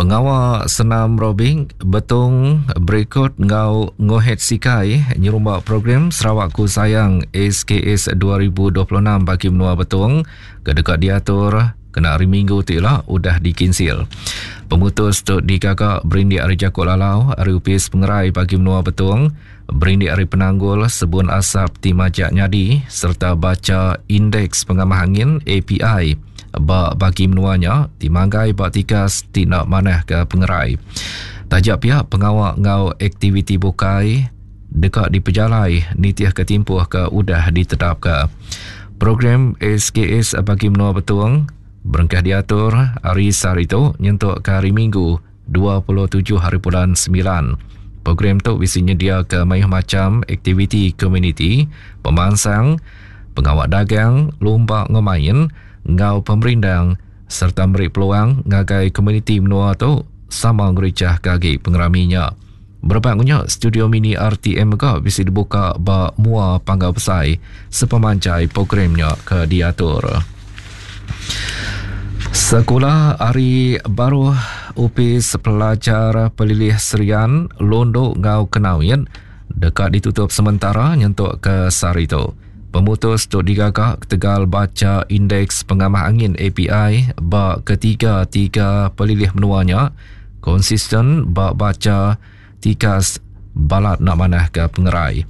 Pengawa senam robing Betong berikut enggau Ngohet Sikai nyerumba program Sarawakku Sayang SKS 2026 bagi menua Betong ke deka diatur kena hari Minggu ti ila udah dikinsil. Pemutus tu digaga berindik ari jaku lalau ari Opis Pengerai Bagi Menua Betong berindik ari penanggul sebun asap ti majak nyadi sereta bacha Indeks Pengamah Angin, API, ba bagi menua nya ti manggai ba tikas ti enda manah ke pengerai. Taja pia, pengawa enggau aktiviti bukai deka dipejalai nitihka timpuh ke udah ditetapka. Program SKS bagi menua Betong berengkah diatur hari sehari tu nyentuk ke hari Minggu 27 hari bulan semilan. Program tu bisi nyediaka mayuh macham aktiviti komuniti, pemansang, pengawa dagang, lumba enggau main enggau pemerindang sereta meri peluang ngagai komuniti menua tu sama ngerichahka agi pengerami nya. Berebak enggau nya, studio mini RTM mega bisi dibuka ba mua panggau besai sepemanjai program nya ke diatur. Sekula ari baruh Opis Pelajar Pelilih Serian, Lundu enggau Kenawit deka ditutup sementara nyentuk ke sehari tu. Pemutus tu digaga ketegal bacha Indeks Pengamah Angin API ba ketiga-tiga pelilih menua nya konsisten ba bacha tikas balat enda manah ke pengerai.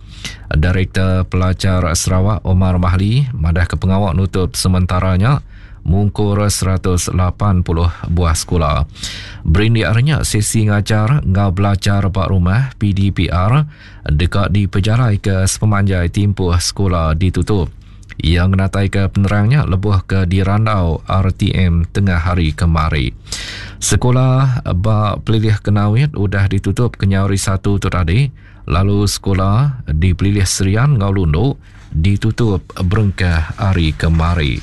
Direktor Pelajar Sarawak Omar Mahli madahka pengawa nutup sementara nya mungkur 180 buah sekula. Berindik ari nya, sesi ngajar enggau belajar ba rumah PDPR deka dipejalaika sepemanjai timpuh sekula ditutup. Iya ngenataika penerang nya lebuh ke dirandau RTM tengah hari kemari. Sekula ba Pelilih Kenawit udah ditutup kenyau hari Satu tu tadi lalu sekula di Pelilih Serian enggau Lundu ditutup berengkah hari kemari.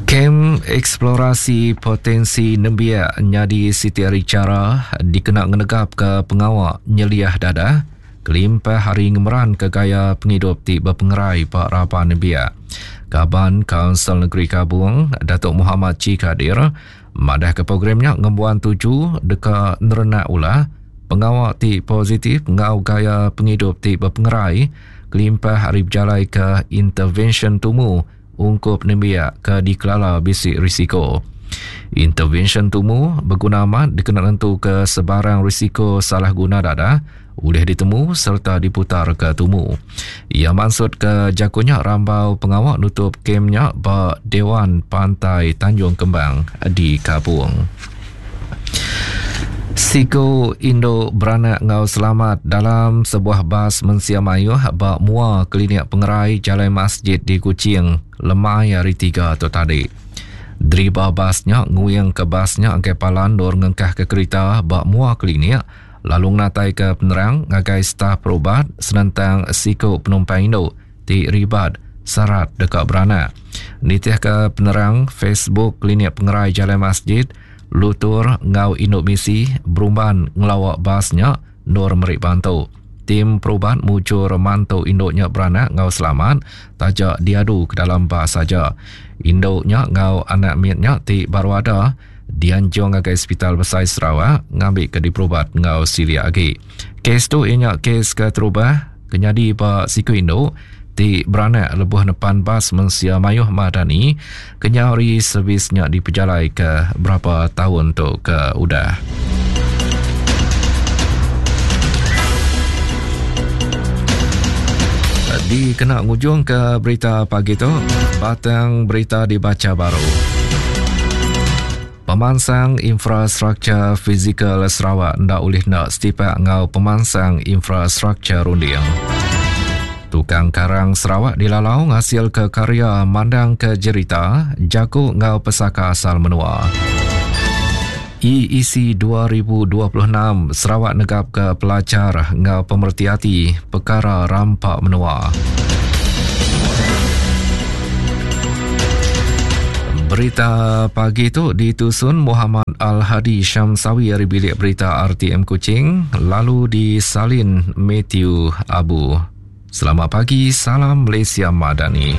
Kem Eksplorasi Potensi Nembiak nyadi siti ari chara dikena ngenegapka pengawa nyeliah dadah kelimpah ari ngemeranka gaya pengidup ti bepengerai ba raban nembiak. Kaban Kaunsil Negeri Kabong, Datuk Mohamad Chee Kadir, madahka program nya ngembuan tuju deka nerenak ulah pengawa ti positif enggau gaya pengidup ti bepengerai kelimpah ari bejalaika intervensyen tumu ungkup nembiak ke dikelala bisi risiko. Intervensyen tumu beguna amat dikena nentuka sebarang risiko salah guna dadah ulih ditemu sereta diputarka tumu. Iya mansutka jaku nya rambau pengawa nutup kem nya ba Dewan Pantai Tanjung Kembang di Kabong. Siku indu beranak enggau selamat dalam sebuah bas mensia mayuh ba mua Klinik Pengerai Jalai Masjid di Kuching lemai Hari Tiga tu tadi. Deriba bas nya nguingka bas nya ngagai palan endur ngengkahka kerita ba mua klinik lalu ngenataika penerang ngagai staf perubat senentang siku penumpang indu ti ribat sarat deka beranak. Nitihka penerang Facebook Klinik Pengerai Jalai Masjid, lutur enggau indu misi berumban ngelawa bas nya endur meri bantu. Tim perubat mujur mantu indu nya beranak enggau selamat taja diadu ke dalam bas aja. Indu nya enggau anak mit nya ti baru ada dianjung ngagai Sepital Besai Sarawak ngambika diperubat enggau silik agi. Kes tu iya nya kes keterubah ke nyadi ba siku indu ti beranak lebuh nepan bas mensia mayuh Madani kenyau ari servis nya dipejalaika berapa taun tu ke udah. Dikena ngujungka berita pagi tu, batang berita dibacha baru. Pemansang infrastruktur fizikal Sarawak enda ulih enda setipak enggau pemansang infrastruktur runding. Tukang karang Sarawak dilalau ngasilka karya mandangka jerita, jaku enggau pesaka asal menua. EEC 2026 Sarawak negapka pelajar enggau pemereti ati pekara rampa menua. Berita pagi tu ditusun Muhammad Al-Hadi Syamsawi ari bilik berita RTM Kuching lalu disalin Matthew Abu. Selamat pagi, salam Malaysia Madani.